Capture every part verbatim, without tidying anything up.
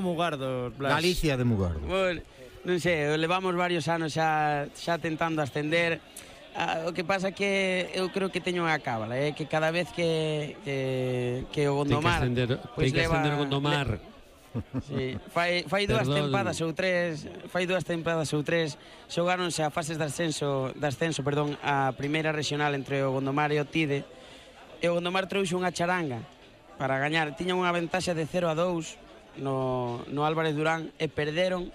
Mugardos, Blas? Galicia de Mugardos. Bueno, non sei, levamos varios anos xa, xa tentando ascender. Ah, o que pasa que eu creo que teño unha cábala, eh, que cada vez que, que, que o Gondomar... Ten que ascender, pues ten que leva, ascender o Gondomar. Le, sí, fai, fai dúas Perdón. tempadas ou tres, fai dúas tempadas ou tres, xogáronse a fases de ascenso, de ascenso, perdón, a primeira regional entre o Gondomar e o Tide. E o Gondomar trouxe unha charanga para gañar, tiña unha ventaxa de cero a dous no, no Álvarez Durán e perderon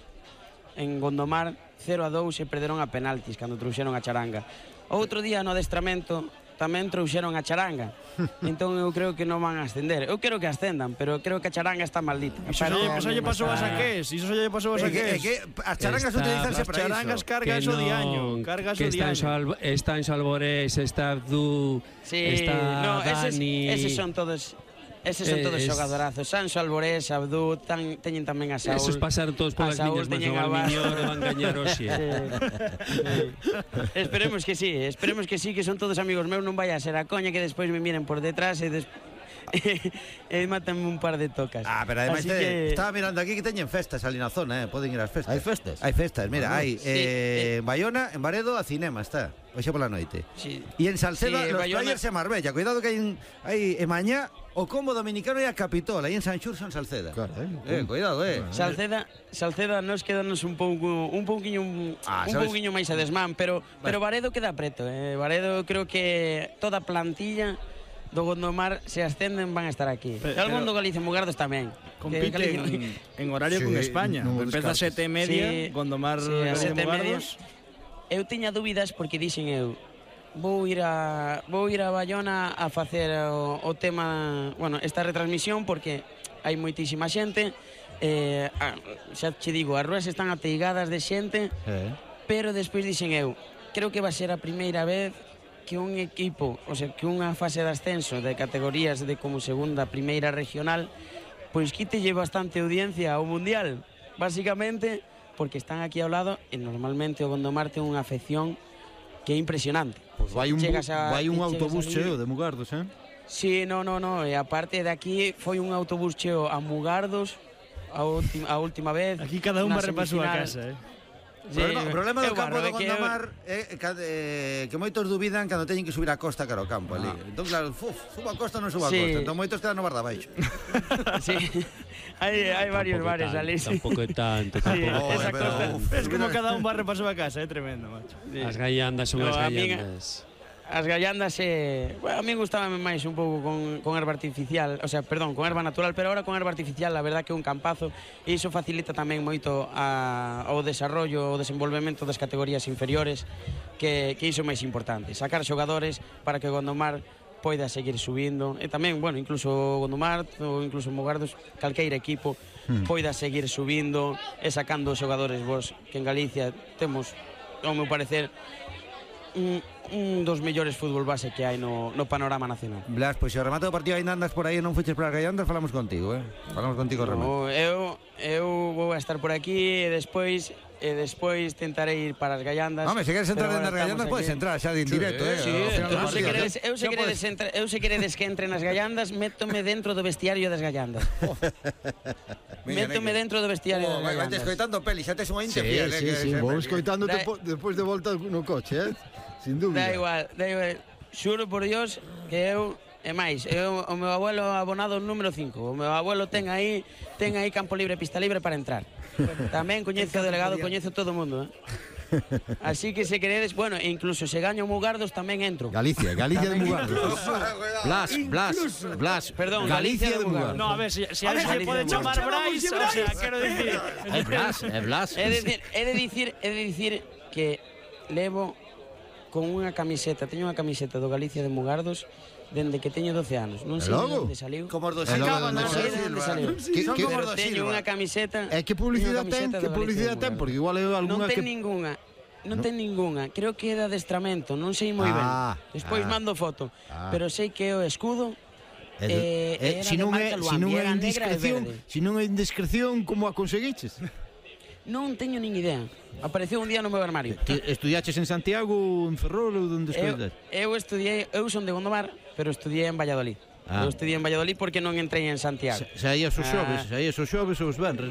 en Gondomar cero a dous e perderon a penaltis cando trouxeron a charanga. Outro día no adestramento tamén trouxeron a charanga. Entón eu creo que non van a ascender. Eu quero que ascendan, pero creo que a charanga está maldita. Iso xa lle pasou a Saqués, iso xa lle pasou a Saqués. As charangas utilizanse para iso. As charangas cargas o diaño, cargas o diaño. Está en Salvorés, está Abdú, está no, Dani... Eses son todos... Eses son todos xogadorazos. Sanso, Alborés, Abdú, tan, teñen tamén a Saúl. Esos pasaron todos polas miñas, mas o Almiñor van gañar hoxe. Esperemos que sí, esperemos que sí, que son todos amigos meus, non vaya a ser a coña que despois me miren por detrás e despois e mátanme un par de tocas. Ah, pero ademais que... estaba mirando aquí que teñen festas ali na zona, eh, poden ir ás festas. Hai festas? Hai festas, mira, hai sí, eh, eh, en Bayona, en Baredo, a cinema está, hoxe pola noite. Sí. E en Salceda, sí, los Bayona... players e Marbella, cuidado que hai en, hai en mañá o combo dominicano e a Capitol, aí en San Xurxo, en Salceda. Claro, eh, cuidado, eh. Salceda, Salceda nos quedanos un pouco un pouquiño un, ah, un pouquiño máis a desmán, pero bueno. Pero Baredo queda preto, eh. Baredo creo que toda a plantilla do Gondomar se ascenden van a estar aquí. Pero, Algún do Galicia Mugardos tamén. Compite Galicia... en, en horario sí, con España. No Empeza a sete e media, sí, Gondomar sí, a sete e media. Mugardos. Eu tiña dúbidas porque dixen eu vou ir a vou ir a Bayona a facer o, o tema, bueno, esta retransmisión porque hai moitísima xente. Eh, a, xa che digo, as ruas están ateigadas de xente, Eh. pero despois dixen eu, creo que va a ser a primeira vez que un equipo, o sea, que unha fase de ascenso de categorías de como segunda, primeira regional, pois quítelle bastante audiencia ao mundial, básicamente porque están aquí ao lado e normalmente o Gondomar ten unha afección que é impresionante. Pois vai un, a, vai un autobús ali... cheo de Mugardos, eh? Sí, no, no, no, e aparte de aquí foi un autobús cheo a Mugardos a, última, a última vez. Aquí cada un va repasou a casa, eh? O problema, sí, o problema do campo barro, do Gondomar é que, eh, que moitos dubidan cando teñen que subir a costa cara ao campo ali. Ah. Entón, claro, uf, subo a costa ou non subo a sí. costa. Entón, moitos quedan no bar da baixo. Sí, hai, hai varios bares ali. Tampouco é tanto, tampouco. Sí, esa costa. Es como cada un va repasou a casa, é tremendo, macho. Sí. As gallandas son No, as a mí- gallandas. As gallandas, eh, bueno, a mí gustábame máis un pouco con, con erva artificial, o sea, perdón, con erva natural, pero ahora con erva artificial, la verdad que é un campazo e iso facilita tamén moito a, o desarrollo, o desenvolvemento das categorías inferiores, que, que iso é máis importante, sacar xogadores para que o Gondomar poida seguir subindo e tamén, bueno, incluso o Gondomar ou incluso o Mugardos, calqueira equipo hmm. poida seguir subindo e sacando xogadores vos, que en Galicia temos, ao meu parecer, un, un dos mellores fútbol base que hai no, no panorama nacional. Blas, pois se o remate do partido ainda andas por aí e non fuches para as gallandas, falamos contigo, eh? Falamos contigo o remate. No, eu, eu vou a estar por aquí e despois e despois tentarei ir para as gallandas. Home, se queres entrar pero nas gallandas, podes entrar xa de indirecto, eh? Sí, Ao final do eu se partido. queredes, eu se queredes, entra, eu se queredes que entre nas gallandas, métome dentro do vestiario das gallandas. Métome dentro do vestiario Oh, das vai, vai te gallandas. escoitando peli, xa tes unha inte Sí, fiel, sí, eh? sí, vou escoitándote Da- despois de volta no coche, eh? Sin dúbida. Da igual, da igual. Xuro por Dios que eu e máis, eu, o meu abuelo abonado número cinco. O meu abuelo ten aí ten aí campo libre, pista libre para entrar. Tamén coñezo o delegado, coñezo todo o mundo, eh? Así que se queredes, bueno, e incluso se gaño Mugardos tamén entro. Galicia, Galicia de Mugardos. Blas, Blas, Blas. Perdón, Galicia de Mugardos. No, a ver, si, si a, A ver, ver, se le pode Galicia, chamar Brais, o sea, quero dicir... É Blas, é Blas. He de dicir, he de dicir, he de dicir que levo con unha camiseta, teño unha camiseta do Galicia de Mugardos dende que teño doce anos. Non sei logo? onde saliu. Como os dos E logo Silva, onde non Non sei sei de onde saliu. Que- Son que- como os Pero dos teño unha Silva. camiseta. É que publicidade unha ten, camiseta que do Galicia publicidade de ten, Mugardos. porque igual é Non algunha ten que... ningunha. Non No. ten ningunha. Creo que é de adestramento, non sei moi Ah, ben. Despois ah. mando foto, Ah. pero sei que é o escudo. É de- Eh, é- era si de non é, marca si Luambi, non é era negra e indiscreción, verde. si non é indiscreción, como a conseguiches? Non teño nin idea. Apareceu un día no meu armario. Ti estudiaches en Santiago, en Ferrol ou onde Eu, estudiaste? eu estudiei, eu son de Gondomar, pero estudiei en Valladolid. Ah. Eu estudiei en Valladolid porque non entrei en Santiago. Saías os Ah. xoves, saías os xoves ou os venres, non?